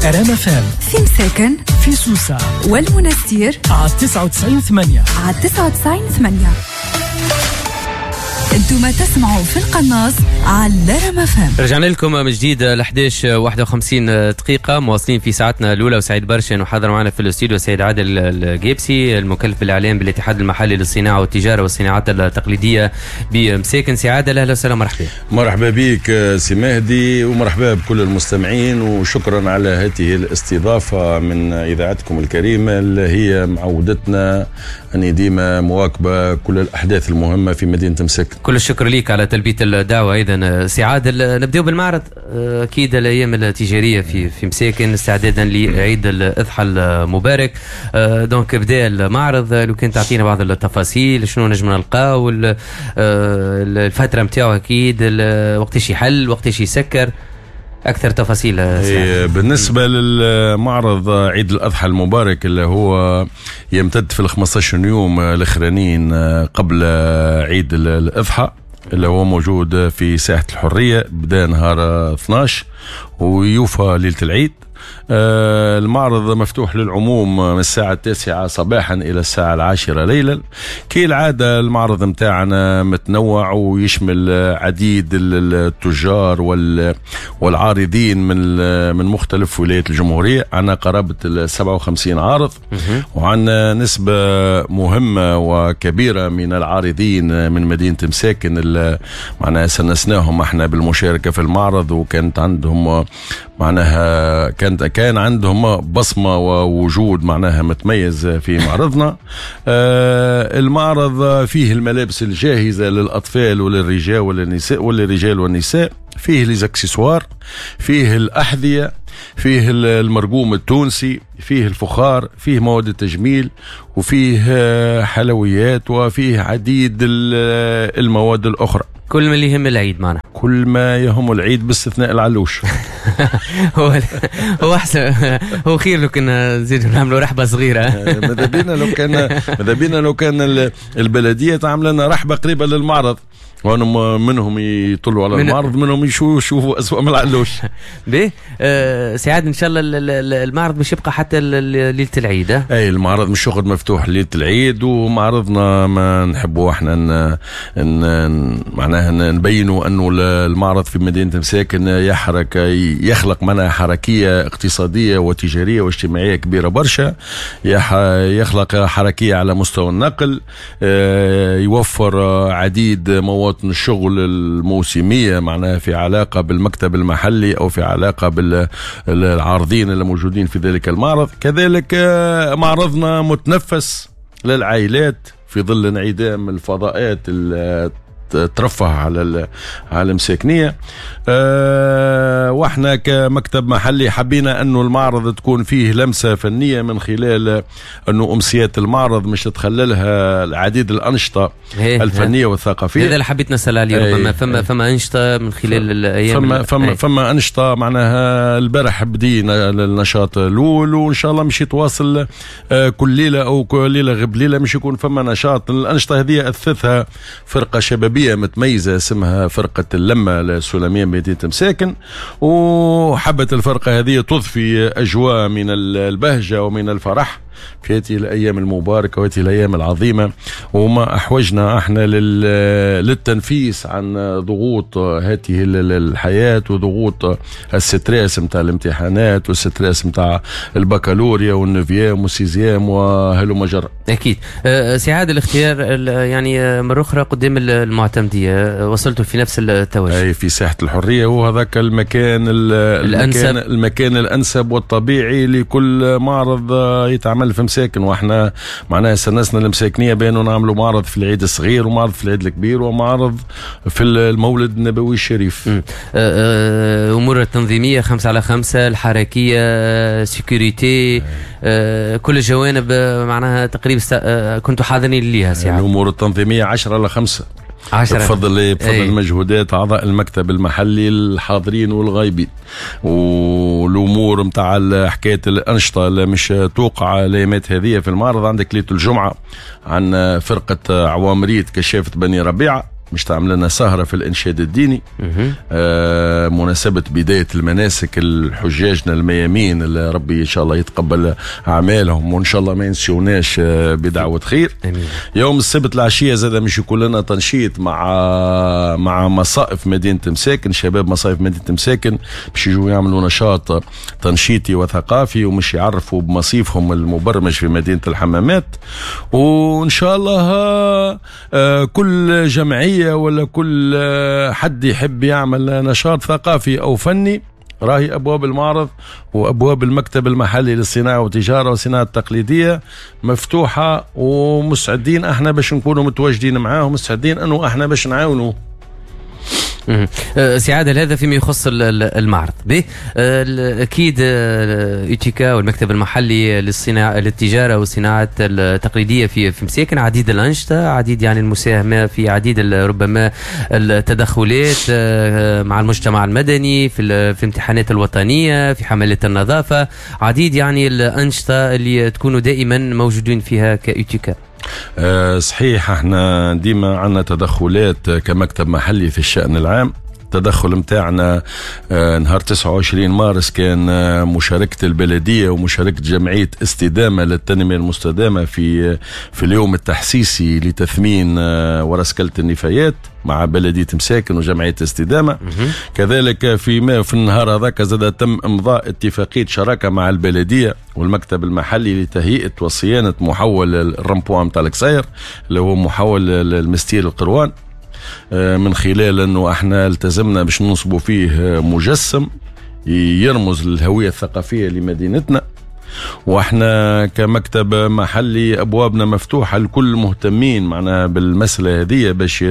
ار ام اف ام في مساكن، في سوسة والمنستير على 99.8، على 99.8. انتم تسمعوا في القناص على رام اف ام. رجعنا لكم من جديد ل 11 51 دقيقة، مواصلين في ساعتنا الأولى، وسعيد برشا أنه حاضر معنا في الاستوديو السيد عادل القابسي، المكلف بالإعلام بالاتحاد المحلي للصناعة والتجارة والصناعات التقليدية بمساكن. سي عادل، أهلا وسهلا، مرحبا. مرحبا بك سي مهدي، ومرحبا بكل المستمعين، وشكرا على هذه الاستضافة من إذاعتكم الكريمة اللي هي معودتنا أن ديما مواكبة كل الأحداث المهمة في مدينة مساكن. كل الشكر لك على تلبية الدعوة. أيضا سي عادل، نبدأ بالمعرض، أكيد الأيام التجارية في مساكن استعدادا لعيد الأضحى المبارك، donc بدا المعرض. لو كان تعطينا بعض التفاصيل، شنو نجم نلقاو، الفترة نتاعو، أكيد وقتاش يحل، وقتاش يسكر، اكثر تفاصيل. إيه، بالنسبة للمعرض عيد الاضحى المبارك اللي هو يمتد في ال 15 يوم الاخرانيين قبل عيد الاضحى، اللي هو موجود في ساحة الحريه، بدا نهار 12 ويوفى ليلة العيد. المعرض مفتوح للعموم من الساعة 9 صباحا إلى الساعة 10 ليلا. كالعادة المعرض متاعنا متنوع ويشمل عديد التجار والعارضين من مختلف ولايات الجمهورية. عندنا قرابة ال 57 عارض، وعندنا نسبة مهمة وكبيرة من العارضين من مدينة مساكن اللي معناها سنسناهم احنا بالمشاركة في المعرض، وكانت عندهم معناها كان عندهم بصمة ووجود معناها متميز في معرضنا. المعرض فيه الملابس الجاهزة للأطفال وللرجال وللنساء فيه les accessoires، فيه الأحذية، فيه المرقوم التونسي، فيه الفخار، فيه مواد التجميل، وفيه حلويات، وفيه عديد المواد الأخرى. كل ما اللي يهم العيد معنا. كل ما يهم العيد باستثناء العلوش. هو هو احسن، هو خير لو كنا نزيدوا نعملوا رحبه صغيره. ماذا بينا لو كان البلدية تعمل لنا رحبه قريبه للمعرض، وانهم منهم يطلوا على المعرض، منهم يشوفوا اسوأ من العلوش. باهي سي عادل، ان شاء الله المعرض باش يبقى حتى ليلة العيد؟ اه؟ اي، المعرض مش يقعد مفتوح ليلة العيد، ومعرضنا ما نحبوا احنا معناها نبينوا انه المعرض في مدينة مساكن يحرك يخلق معناها حركية اقتصادية وتجاريه واجتماعية كبيرة برشا، يخلق حركية على مستوى النقل، يوفر عديد مواطن الشغل الموسميه، معناها في علاقة بالمكتب المحلي او في علاقة بالعارضين اللي موجودين في ذلك المعرض. كذلك معرضنا متنفس للعائلات في ظل انعدام الفضاءات ترفه على المساكنيه. واحنا كمكتب محلي حبينا انه المعرض تكون فيه لمسه فنية من خلال انه امسيات المعرض مش تتخللها العديد الانشطة الفنية والثقافيه. هذا اللي حبيت نسال عليه، ربما فما انشطة من خلال الايام. فما انشطه، معناها البارح بدينا النشاط الاول، وان شاء الله مش يتواصل كل ليلة او كل ليلة غب ليلة مش يكون فما نشاط. الانشطة هذه اثثها فرقه شبابية متميزة اسمها فرقه اللمة السلمية بمدينة مساكن، وحبت الفرقة هذه تضفي اجواء من البهجة ومن الفرح في هذه الايام المباركة وهذه الايام العظيمه، وما احوجنا احنا للتنفيس عن ضغوط هذه الحياة وضغوط ال stress نتاع الامتحانات وال stress نتاع البكالوريا وال neuvième وال sixième وهلم جرا. اكيد. سي عادل، الاختيار يعني مرة اخرى قدام المعتمديه، وصلتوا في نفس التوجه. اي، في ساحة الحريه، وهذاك المكان الانسب، المكان الانسب والطبيعي لكل معرض يتعمل في مساكن. واحنا معناها سنسنا المساكنيه بانه نعملوا معرض في العيد الصغير ومعرض في العيد الكبير ومعرض في المولد النبوي الشريف. امور التنظيمية 5 على 5، الحركيه، sécurité، كل الجوانب معناها تقريبا كنتوا حاضرين ليها سي. الامور التنظيمية 10 على 5. 10. بفضل مجهودات اعضاء المكتب المحلي الحاضرين والغايبين، والامور نتاع حكاية الانشطة اللي مش توقع الايامات هذه في المعرض. عندك ليلة الجمعة عن فرقه عوامريت كشافه بني ربيعه. مش تعمل لنا سهرة في الإنشاد الديني، مناسبة بداية المناسك الحجاجنا الميامين اللي ربي إن شاء الله يتقبل أعمالهم وإن شاء الله ما ينسوناش بدعوة خير. أمين. يوم السبت العشية زاد مش يكون لنا تنشيط مع مصائف مدينة مساكن، شباب مصائف مدينة مساكن باش يجوا يعملوا نشاط تنشيطي وثقافي ومش يعرفوا بمصيفهم المبرمج في مدينة الحمامات. وإن شاء الله كل جمعية ولا كل حد يحب يعمل نشاط ثقافي أو فني راهي أبواب المعرض وأبواب المكتب المحلي للصناعة والتجارة والصناعة التقليدية مفتوحة، ومستعدين احنا باش نكونوا متواجدين معاهم، ومستعدين أنه احنا باش نعاونوا. سي عادل، هذا فيما يخص المعرض به. اكيد UTICA والمكتب المحلي للصناعة للتجارة والصناعة التقليدية في مساكن عديد الانشطة، عديد يعني المساهمة في عديد ربما التدخلات مع المجتمع المدني في الامتحانات الوطنية، في حملات النظافة، عديد يعني الانشطة اللي تكونوا دائما موجودين فيها ك UTICA. صحيح، احنا ديما عندنا تدخلات كمكتب محلي في الشأن العام. التدخل متاعنا نهار 29 مارس كان مشاركة البلدية ومشاركة جمعية استدامة للتنمية المستدامة في اليوم التحسيسي لتثمين ورسكلة النفايات مع بلدية مساكن وجمعية استدامة. كذلك في النهار هذاك زاد تم إمضاء اتفاقية شراكة مع البلدية والمكتب المحلي لتهيئة وصيانة محول ال rond-point متاع الكساير اللي هو محول المستير القروان، من خلال انه احنا التزمنا باش ننصبوا فيه مجسم يرمز للهوية الثقافية لمدينتنا. واحنا كمكتب محلي ابوابنا مفتوحة لكل مهتمين معنا بالمسألة هذه باش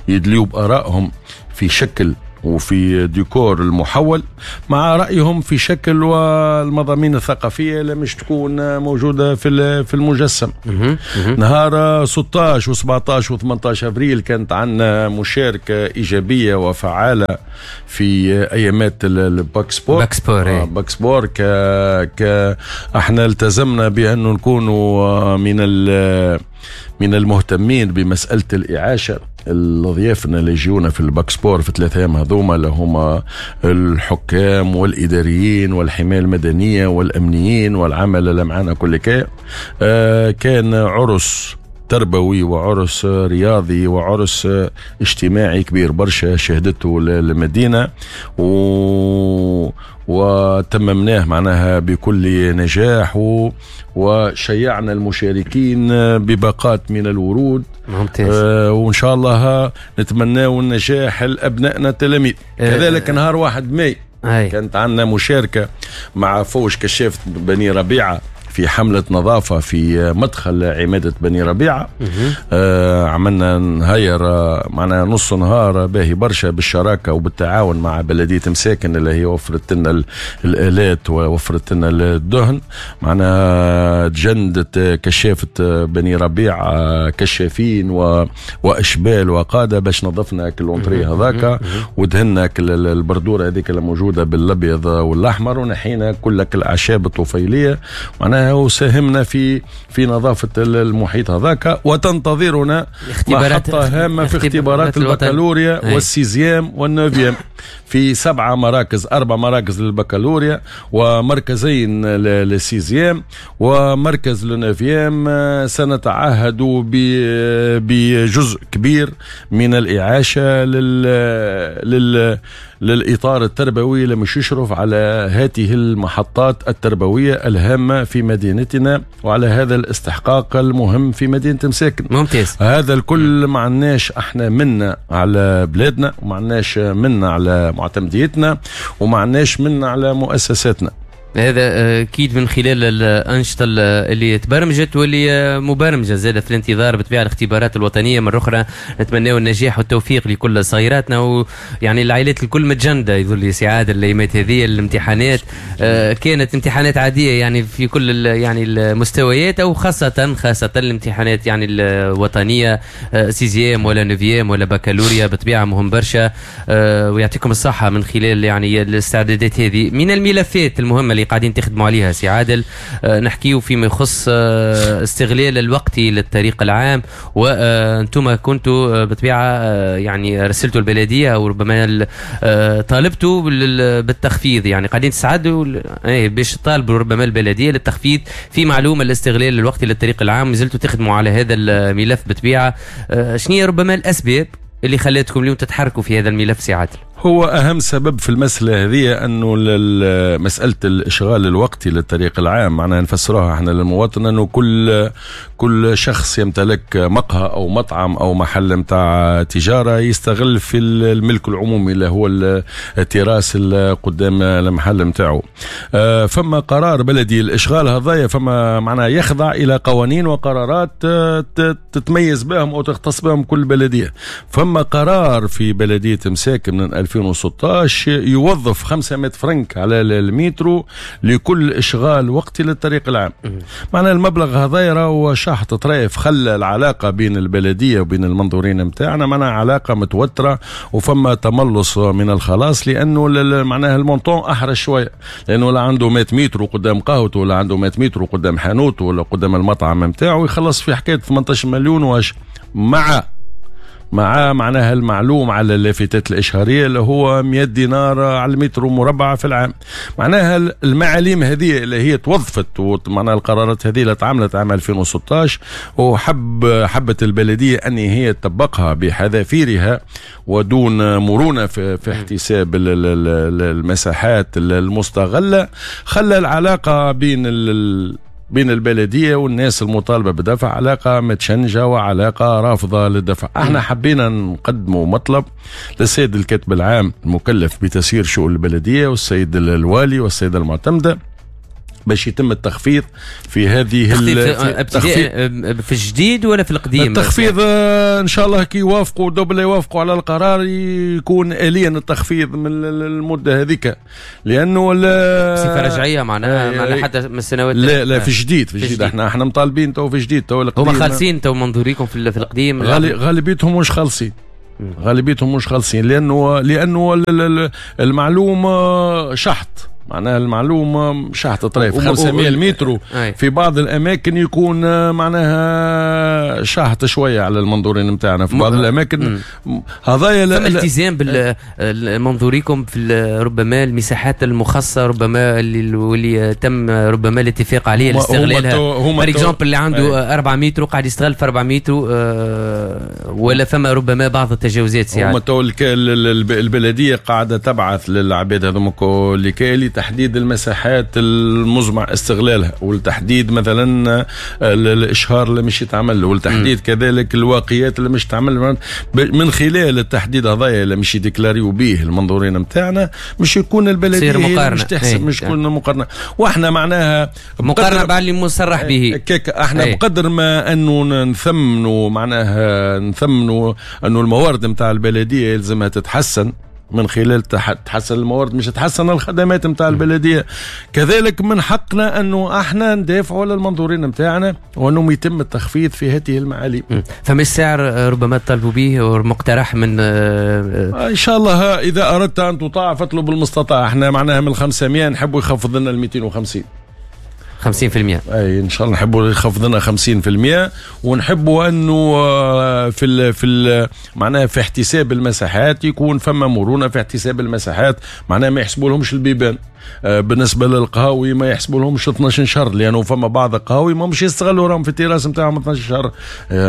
يدليوا بآرائهم في شكل وفي ديكور المحول مع رأيهم في شكل والمضامين الثقافية اللي مش تكون موجودة في المجسم. نهار 16 و17 و18 أبريل كانت عندنا مشاركة إيجابية وفعالة في أيامات ال bac sport. bac sport احنا التزمنا بأنه نكونوا من المهتمين بمسألة الإعاشة. الضيافنا اللي يجونا في ال bac sport في 3 أيام هذوما اللي هما الحكام والإداريين والحماية المدنية والأمنيين والعمل اللي معنا كل كي، كان عرس تربوي وعرس رياضي وعرس اجتماعي كبير برشا شهدته المدينة وتممناه معناها بكل نجاح وشيعنا المشاركين بباقات من الورود. ممتاز. وإن شاء الله نتمنى النجاح لأبنائنا التلاميذ. كذلك نهار 1 ماي كانت عندنا مشاركة مع فوج كشافة بني ربيعة في حملة نظافة في مدخل عمادة بني ربيعة. عملنا نهير معنا نص نهار باهي برشا بالشراكة وبالتعاون مع بلدية مساكن اللي هي وفرت لنا الآلات ووفرت لنا الدهن. معنا تجندت كشافة بني ربيعة كشافين وأشبال وقادة باش نظفنا كل l'entrée هذاك ودهنا البردورة هذيك اللي موجودة بالأبيض والأحمر ونحينا كل الأعشاب الطفيلية معناها وساهمنا في نظافة المحيط هذاك. وتنتظرنا محطة هامة في اختبارات البكالوريا وال sixième وال neuvième في 7 مراكز، 4 مراكز للبكالوريا ومركزين لل sixième ومركز لل neuvième. سنتعهد بجزء كبير من الإعاشة للإطار التربوي اللي مش يشرف على هذه المحطات التربوية الهامة في مدينتنا وعلى هذا الاستحقاق المهم في مدينة مساكن. ممتاز. هذا الكل ما عناش احنا منا على بلادنا وما عناش منا على معتمديتنا وما عناش منا على مؤسساتنا. هذا اكيد من خلال الانشطة اللي تبرمجت واللي مبرمجه زادت في الانتظار بطبيعة الاختبارات الوطنية. مرة اخرى نتمناو النجاح والتوفيق لكل صغيراتنا، ويعني العائلات الكل متجنده يظل سي عادل الايامات هذه. الامتحانات كانت امتحانات عادية يعني في كل يعني المستويات، او خاصة الامتحانات يعني الوطنية sixième ولا neuvième ولا بكالوريا بطبيعة مهم برشا. ويعطيكم الصحة من خلال يعني الاستعدادات هذه. من الملفات المهمة اللي قاعدين تخدموا عليها سي عادل. نحكيو فيما يخص استغلال الوقت للطريق العام، وانتم كنتوا بطبيعة يعني رسلتوا البلدية او ربما طالبتوا بالتخفيض، يعني قاعدين تساعدوا باش تطالبوا ربما البلدية للتخفيض في معلومة الاستغلال الوقتي للطريق العام. مازلتوا تخدموا على هذا الملف بطبيعة. شنو هي ربما الاسباب اللي خلاتكم اليوم تتحركوا في هذا الملف سي عادل؟ هو أهم سبب في المسألة هذه أنه مسألة الإشغال الوقتي للطريق العام، معناها نفسروها احنا للمواطن أنه كل شخص يمتلك مقهى أو مطعم أو محل متاع تجارة يستغل في الملك العمومي اللي هو التراس اللي قدام المحل متاعه. فما قرار بلدي الإشغال هذايا، فما معناها يخضع إلى قوانين وقرارات تتميز بهم أو تختص بهم كل بلدية. فما قرار في بلدية مساكن من 2016 يوظف 500 فرنك على المترو لكل إشغال وقتي للطريق العام. معنى المبلغ هذا راهو شحط طريف، خلى العلاقة بين البلدية وبين المنظورين متاعنا معناها علاقة متوترة، وفما تملص من الخلاص لأنه معناها ال montant أحرج شوية، لأنه لا عنده 100 متر قدام قهوته ولا عنده 100 متر قدام حانوته ولا قدام المطعم متاعه، يخلص في حكاية 18 مليون واش مع معناها المعلوم على اللافتات الإشهارية اللي هو 100 دينار على المتر مربع في العام. معناها المعاليم هذه اللي هي توظفت، ومعناها القرارات هذه اللي تعملت عام 2016، وحبت البلدية أن هي تطبقها بحذافيرها ودون مرونة في احتساب المساحات المستغلة، خلى العلاقة بين البلدية والناس المطالبة بدفع علاقة متشنجة وعلاقة رافضة للدفع. احنا حبينا نقدموا مطلب للسيد الكاتب العام المكلف بتسيير شؤون البلدية والسيد الوالي والسيدة المعتمدة باش يتم التخفيض في هذه التخفيض في الجديد ولا في القديم؟ التخفيض ان شاء الله كي يوافقوا دوبل يوافقوا على القرار يكون آليا التخفيض من المدة هذيك، لانه بصفة رجعية معناها حتى من السنوات. لا لا في الجديد، في الجديد احنا مطالبين تو في الجديد، تو القديم هما خالصين تو منظوريكم في القديم غالبيتهم مش خالصين، غالبيتهم مش خالصين لانه المعلوم شحط، معناها المعلومة شحط طريف 500 متر في بعض الأماكن يكون معناها شحط شوية على المنظورين متاعنا في بعض الأماكن. هذايا التزام بالمنظوريكم في ربما المساحات المخصصة ربما اللي تم ربما الاتفاق عليه لاستغلالها. par exemple اللي عنده 4 متر قاعد يستغل في 4 متر، ولا فما ربما بعض التجاوزات. هما تو البلدية قاعدة تبعث للعباد هذوما لكي تحديد المساحات المزمع استغلالها، والتحديد مثلا الاشهار اللي مش يتعمل، والتحديد كذلك الواقيات اللي مش تعمل. من خلال التحديد هذايا اللي مش يديكلاريو به المنظورين نتاعنا مش يكون البلدية مش تحسب، مش يكون مقارنة. واحنا معناها مقارنة مع اللي مصرح به كيك احنا بقدر ما انه نثمنوا، معناها نثمنوا انه الموارد نتاع البلدية يلزمها تتحسن من خلال تحسن الموارد مش تحسن الخدمات نتاع البلدية. كذلك من حقنا انه احنا ندافعوا على المنظورين نتاعنا وانه يتم التخفيض في هذه المعاليم. فما السعر ربما تطالبوا به ومقترح من ان شاء الله اذا اردت ان تطاع فاطلب المستطاع. احنا معناها من 500 نحبوا يخفض لنا ال 250 50%. اي ان شاء الله نحبوا يخفض لنا 50%، ونحبوا انه في معناها في احتساب المساحات يكون فما مرونة في احتساب المساحات، معناها ما يحسبوا لهمش البيبان. بالنسبة للقهاوي ما يحسبوا لهمش 12 شهر، لانه فما بعض القهاوي ما مش يستغلوا راهم في التراس نتاعهم 12 شهر،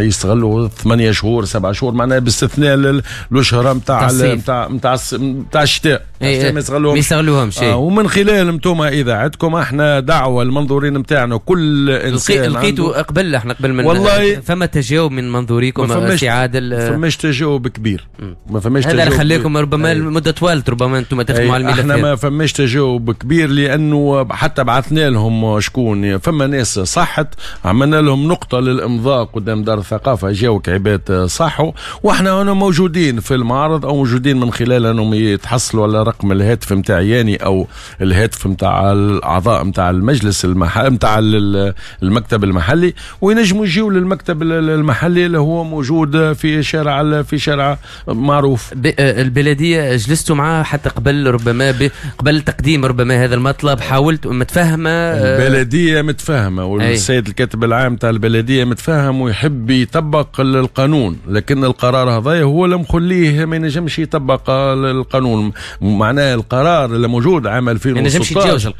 يستغلوا 8 شهور 7 شهور، معناها باستثناء الاشهر نتاع نتاع نتاع الشتاء ما يستغلوهمش. ومن خلال انتم اذاعتكم احنا دعوه المنظورين نتاعنا كل انسان لقيتوا قبل، احنا قبل من والله فما تجاوب من منظوريكم سي عادل؟ ما فماش تجاوب كبير، ما فماش تجاوب. هذا اللي خليكم ربما المدة طوالت ربما انتم تخدموا على الملف. احنا ما فماش تجاوب كبير لانه حتى بعثنا لهم شكون، فما ناس صحت عملنا لهم نقطة للامضاء قدام دار الثقافة، جاوك عباد صحوا، واحنا هنا موجودين في المعرض او موجودين من خلال انهم يتحصلوا على رقم الهاتف نتاعي او الهاتف نتاع الاعضاء نتاع المجلس نتاع المكتب المحلي، وينجموا يجيو للمكتب المحلي اللي هو موجود في شارع معروف. البلدية جلستوا معاه حتى قبل ربما قبل تقديم تقديم ربما هذا المطلب، حاولت متفهمه؟ البلدية متفهمه، والسيد الكاتب العام تاع البلدية متفهم ويحب يطبق القانون، لكن القرار هذا هو اللي مخليه ما ينجمش يطبق القانون. معناه القرار اللي موجود عام 2016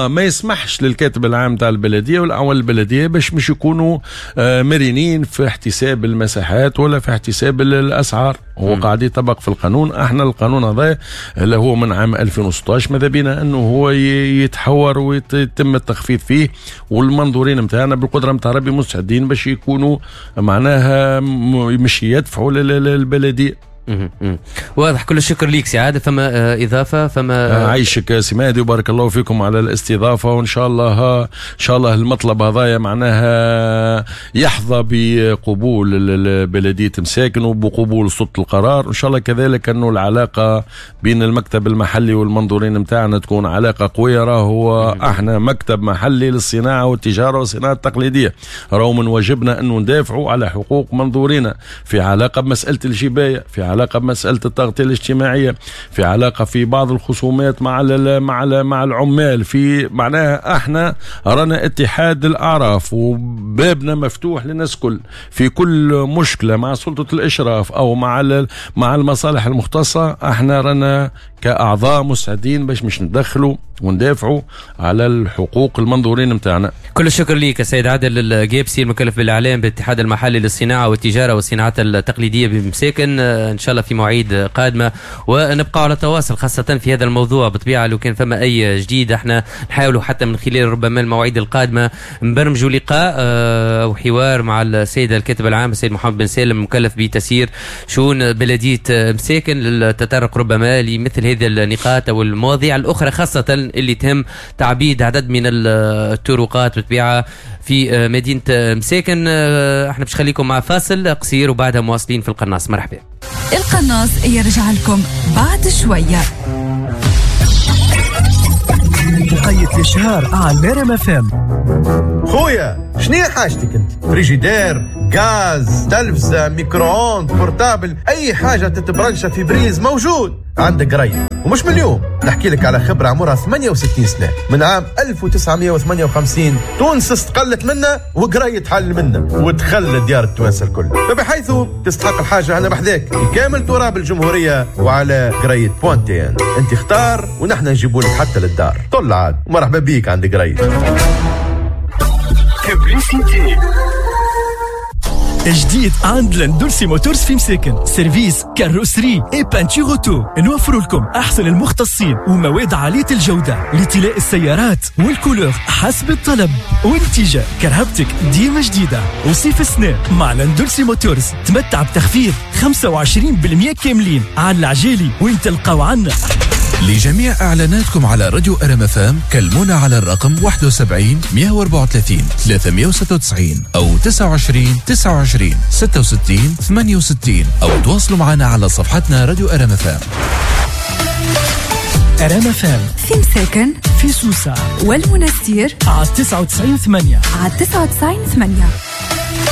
ما يسمحش للكاتب العام تاع البلدية والاعوان البلدية باش مش يكونوا مرنين في احتساب المساحات ولا في احتساب الاسعار. هو قاعد يطبق في القانون. احنا القانون هذا اللي هو من عام 2016 ماذا بينا انه هو يتحور ويتم التخفيض فيه، والمنظورين نتاعنا بالقدرة نتاع ربي مستعدين باش يكونوا معناها مش يدفعوا للبلديه. واضح. كل الشكر ليك سي عادل. فما اضافه؟ فما عايشك سي مهدي وبارك الله فيكم على الاستضافة، وان شاء الله ان شاء الله المطلب هذايا معناها يحظى بقبول بلديه مساكن وبقبول سلطة القرار، وان شاء الله كذلك انه العلاقة بين المكتب المحلي والمنظورين نتاعنا تكون علاقة قوية. راهو احنا مكتب محلي للصناعة والتجارة والصناعة التقليدية، راهو من واجبنا انه ندافعوا على حقوق منظورينا في علاقة بمسالة الجبايه، في علاقة بمسألة التغطية الاجتماعية، في علاقة في بعض الخصومات مع مع العمال، في معناها احنا رانا اتحاد الأعراف وبابنا مفتوح للناس كل في كل مشكلة مع سلطة الإشراف أو مع المصالح المختصة. احنا رانا كأعضاء مساعدين باش مش ندخلوا وندافعوا على الحقوق المنظورين متاعنا. كل الشكر ليك السيد عادل القابسي المكلف بالإعلام بالاتحاد المحلي للصناعة والتجارة والصناعات التقليدية بمساكن. إن شاء الله في مواعيد قادمة ونبقى على تواصل خاصة في هذا الموضوع. بطبيعة لو كان فما أي جديد احنا نحاولوا حتى من خلال ربما المواعيد القادمة نبرمجوا لقاء أو حوار مع السيد الكاتب العام السيد محمد بن سالم المكلف بتسيير شؤون بلدية مساكن للتطرق ربما لمثل هذه النقاط أو المواضيع الأخرى خاصة اللي تهم تعبيد عدد من الطرقات بطبيعة في مدينة مساكن. احنا باش نخليكم مع فاصل قصير وبعدها مواصلين في القناص. مرحبا. القناص يرجع لكم بعد شوية. وقيت الإشهار على نرم FM. خويا شنو حاجتك انت؟ فريجيدير، غاز، تلفزة، micro-ondes، portable، اي حاجة تتبرنشة في prise موجود عندك قريب. ومش من اليوم نحكي لك على خبرة عمرها 68 سنة، من عام 1958 تونس استقلت منا وقريت حل منا ودخل ديار التوانسة الكل، فبحيث تستحق الحاجة أنا بحذاك في كامل تراب الجمهورية وعلى قريت point tn. انت اختار ونحن نجيبوا لك حتى للدار. طل عاد مرحبا بيك عند قريت. جديد عند لندولسي موتورز في مساكن، service carrosserie et peinture auto. نوفر لكم احسن المختصين ومواد عالية الجودة لطلاء السيارات وال couleur حسب الطلب، ونتيجة كرهبتك ديما جديدة. وصيف السنة مع لندولسي موتورز تمتع بتخفيض 25% كاملين على العجالي وين تلقاو عنا. لجميع إعلاناتكم على راديو RMFM كلمونا على الرقم 71 134 396 أو 29 29 66 68 أو تواصلوا معنا على صفحتنا راديو RMFM. RMFM في مساكن، في سوسة والمنستير على 99.8، على 99.8.